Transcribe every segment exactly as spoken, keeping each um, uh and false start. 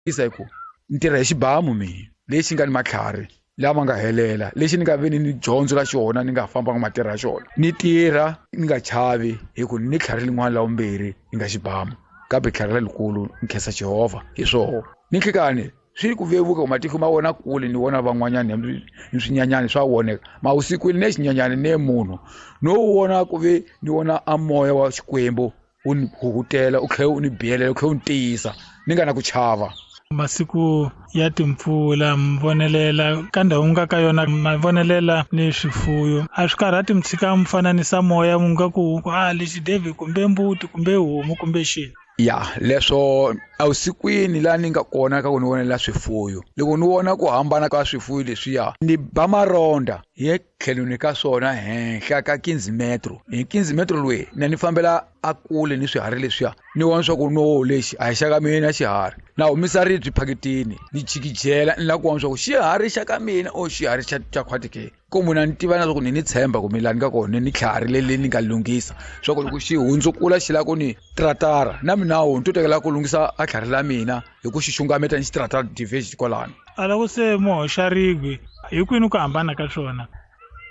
Hi ku ni tirha hi xibamu mina lexi nga ni matlhari lama nga helela lexi ni nga ve ni ni dyondzo la xona ni nga fambanga matirha ya xona ni tirha ni nga chavi hi ku ni tlhari lin'wana la vumbirhi ni nga xibamu kambe tlhari lelikulu ni khensa Jehovha hi swoho ni nhlikani swi ku vevuka ku matihlo ma wona kule ni vona van'wanyana ni swinyanyani swa voneka mausikwini ne xinyanyani ne munhu no vona ku ve ni vona a moya wa Xikwembu u ni huhutela u tlhela u ni biyelela u tlhela u ni tiyisa ni nga na ku chava. Masiku ya timpfula mi vonelela ka ndhawu nga ka yona ma vonelela ni swifuyo a swi karhati mi tshika mi fananisa moya mu nga ku a lexi David kumbe mbuti kumbe homu kumbe xini. Ya leswo evusikwini laha ni nga kona ka ku ni vonelela swifuyo loko ni vona ku hambana ka swifuyo leswiya ni ba maronda hi tlhelweni ka swona henhla ka quinze metro hi quinze metro loyi na ni fambela a kule ni swiharhi leswiya ni vona swa ku no lexi a hi xa ka mina xiharhi na humisa ribye phakitini ni jikijela ni lava ku vona swa ku xiharhi xa ka mina o xiharhi xa xa khwati ke ku munhu a ni tiva na swa ku ni ni tshemba ku mi lani ka kona ni tlhari leli ni nga lunghisa swa ku loko xi hundzukula xi lava ku ni tratara na mina wo ni to tekela ku lunghisa a tlhari la mina hi ku xi xungameta ni xi tratara diverge kwalano. A loko se mo hoxa ribye hi kwini ku hambana ka swona?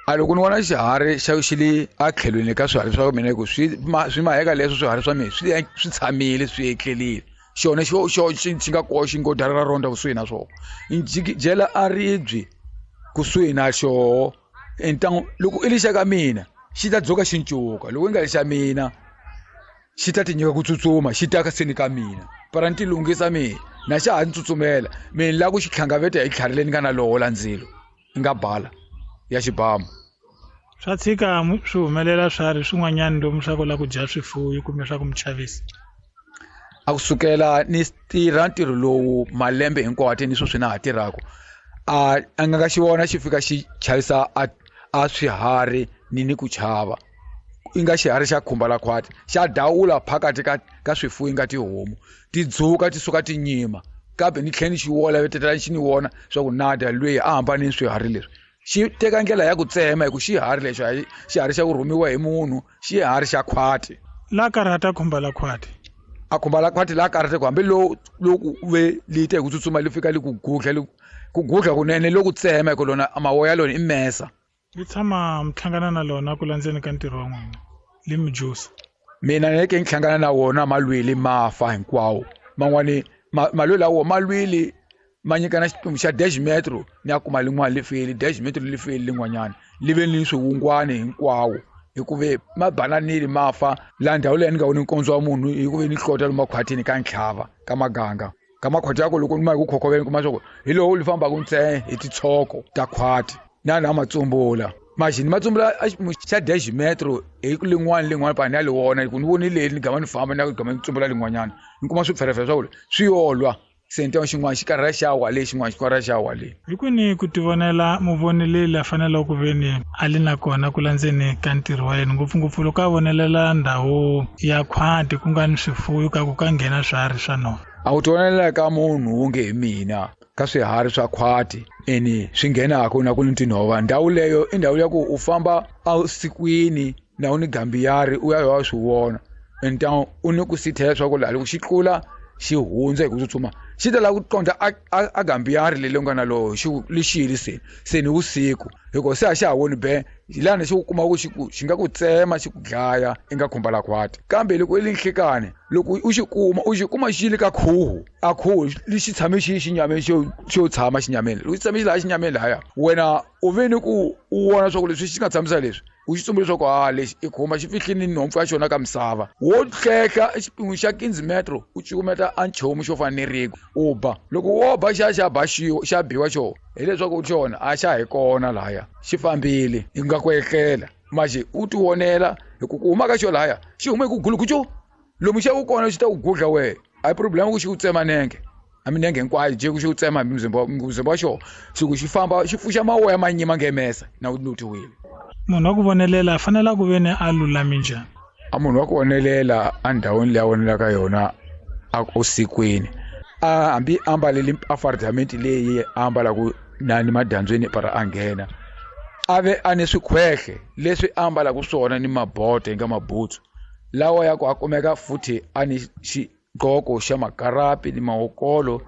A loko ni vona xiharhi xa xi le a tlhelweni ka swiharhi swa mina hi ku swi swi maheka leswo swiharhi swa mina swi swi tshamile swi etlelile xona xo xo xi xi nga koxa xi ngo dara ra ronda kusuhi na swona ni jikijela a ribye kusuhi na xoho ntangu loko i lexa ka mina xi ta dzuka xi ncuka loko i nga lexa mina xi ta ti nyika ku tsutsuma xi ta ka seni ka mina para ni ti lunghisa mina na xa ha ni tsutsumela mina ni lava ku xi tlhangaveta hi tlhari leri ni nga na loho la ndzilo ni nga bala ya xibamu. Swa tshika swi humelela swiharhi swin'wanyana lomu swa ku lava ku dya swifuwo kumbe swa ku mi chavisa. A kusukela ni tirha ntirho lowu malembe hinkwawo ni sweswi na ha tirhaka a a nga xi vona xi fika xi chavisa a a swiharhi ni ni ku chava i nga xiharhi xa khumba la khwati xa dawula phakathi ka ka swifuwo i nga tihomu ti dzuka ti suka ti nyima kambe ni tlhela ni xi wola vetetela xi ni vona swa ku nada lweyi a hambane ni swiharhi leswi xi teka ndlela ya ku tsema hi ku xiharhi lexo a xiharhi xa ku rhumiwa hi munhu xiharhi xa khwati la karhata khumba la khwati a khumba la khwati la karhata ku hambi lowu loku ve li te hi ku tsutsuma li fika li ku gudla li ku gudla kunene loku tsema hi ku lona mawoya lona i mesa. Li tshama mi hlangana na lona ku landzeni ka ntirho wa n'wina li mi jusa. Mina ni ke ni hlangana na wona malwili ma fa hinkwawo man'wani malwili lawo malwili ma nyikana xiphemu xa dash metro ni ya kuma lin'wana li feli dash metro li feli lin'wanyana li ve ni swiwungwani hinkwawo hikuva ma bananile ma fa laha ndhawu leyi ni nga voni nkondzo wa munhu hikuva ni hlota lomu makhwatini ka ntlhava ka maganga ka makhwati ya ku loko ni ma hi ku khokhoveni kuma swa ku hi lowu li fambaka ntsena hi titshoko ta khwati na na matsumbula maxi ni matsumbula xa dash metro hi lin'wana lin'wana pa ni ya li vona ku ni voni leri ni gama ni famba ni gama ni tsumbula lin'wanyana ni kuma swipferepfere swa ku swi yolwa se ni xin'wana xi karhi xa wa le xin'wana xi karhi xa wa le. Hi kwini ku tivonela muvoneleli a faneleke ku ve ni a li na kona ku landzeni ka ntirho wa yena ngopfungopfu loko a vonelela ndhawu ya khwati ku nga ni swifuwo ka ku ka nghena swiharhi swa nhova. A ku tivonela ka munhu wo nge hi mina ka swiharhi swa khwati ene swi nghenaka na ku ni tinhova ndhawu leyo i ndhawu ya ku u famba evusikwini na u ni gambiyari u ya ya swi vona ntangu u ni ku sithela swa ku laha loko xi tlula xi hundza hi ku tsutsuma xi ta lava ku qondza a a gambiyari leri nga na loho xi lexili se se ni vusiku hikuva se a xa ha voni be lani xi ku kuma ku xi ku xi nga ku tsema xi ku dlaya i nga khumba la khwati kambe loko i le nhlikani loko u xi kuma u xi kuma xi le ka khuhu a khuhu lexi tshame xi xinyameni xo xo tshama xinyameni loko xi tshame xi laha xinyameni lahaya wena u ve ni ku u vona swa ku leswi xi nga tshamisa leswi u xi tsumbula leswaku ha lexi i khumba xi fihlini nhompfu ya xona ka misava wo hlehla xiphemu xa quinze metro u cukumeta a nchumu xo fana ni riku u ba loko wo ba xa xa ba xiwa xa biwa xona hileswaku xona a xa hi kona lahaya xi fambile i nga ku etlela manje u ti vonela hi ku ku huma ka xo lahaya xi hume hi ku gulukucu lomu xa ku kona xi ta ku gudla wehe a hi problem ku xi ku tsema nenge a minenge hinkwayo jeki xi ku tsema hi muzimba muzimba wa xona xi ku xi famba xi pfuxa mawoya ma nyima ngemesa na u lotiwile. Munhu wa ku vonelela a fanele ku ve ni a lulame njhani? A munhu wa ku vonelela endhawini leyi a vonelaka yona a usikwini a hambi a ambalele a fardamenti leyi a ambalaka na ni madyambyini para a nghena a ve a ni swikhwehle leswi a ambalaka swona ni mabote nga mabutsu lawa ya ku a kumeka futhi a ni xigqoko xa makarapi ni mawokolo